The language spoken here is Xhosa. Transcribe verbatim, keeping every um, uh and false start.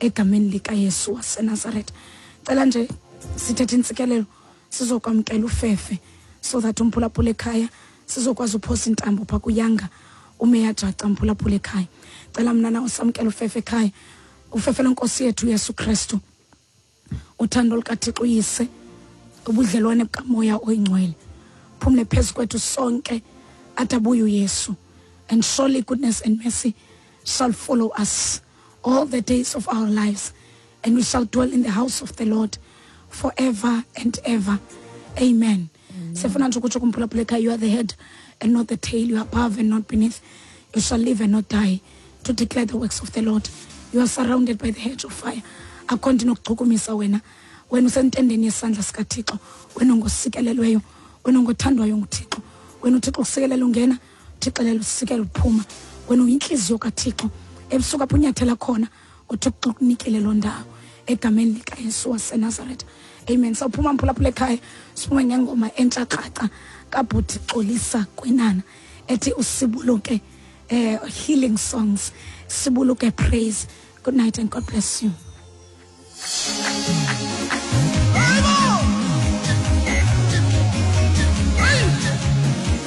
egameni likaYesu waseNazaretha. Cela nje sithethe intsikelelo, sizokwamkela ufefe so that umphulaphula ekhaya sizokwazi uphosa intambo pha kuyanga umeya jaca mphulaphula ekhaya. Cela mna na usamkela ufefe ekhaya, ufefe lenkosi yethu Yesu Kristu, uthando lukaThixo uyise, ubudlelwane bukaMoya oyiNgcwele phumle phezu kwethu sonke atabuye uYesu. And surely goodness and mercy shall follow us all the days of our lives, and we shall dwell in the house of the Lord forever and ever. Amen. Sifuna nje ukutsho kumphulaphula ekhaya, you are the head and not the tail, you are above and not beneath, you shall live and not die to declare the works of the Lord. You are surrounded by the hedge of fire. Akho nto inokuchukumisa wena, wena usentendeni yesandla sikaThixo, wena ongosikelelweyo, wena ongothandwayo nguThixo, wena uThixo usikelela ungena, uThixo lelo usikela uphuma, wena uyintliziyo kaThixo. Ebusuku apho unyathela khona uThixo ukunikele loo ndawo egameni likaYesu waseNazaretha. Amen. Sawuphuma mphulaphula ekhaya, siphume ngengoma entsha kraca kaBhuti Xolisa Kwinana ethi usibuluke, eh, healing songs, sibuluke praise. Good night and God bless you.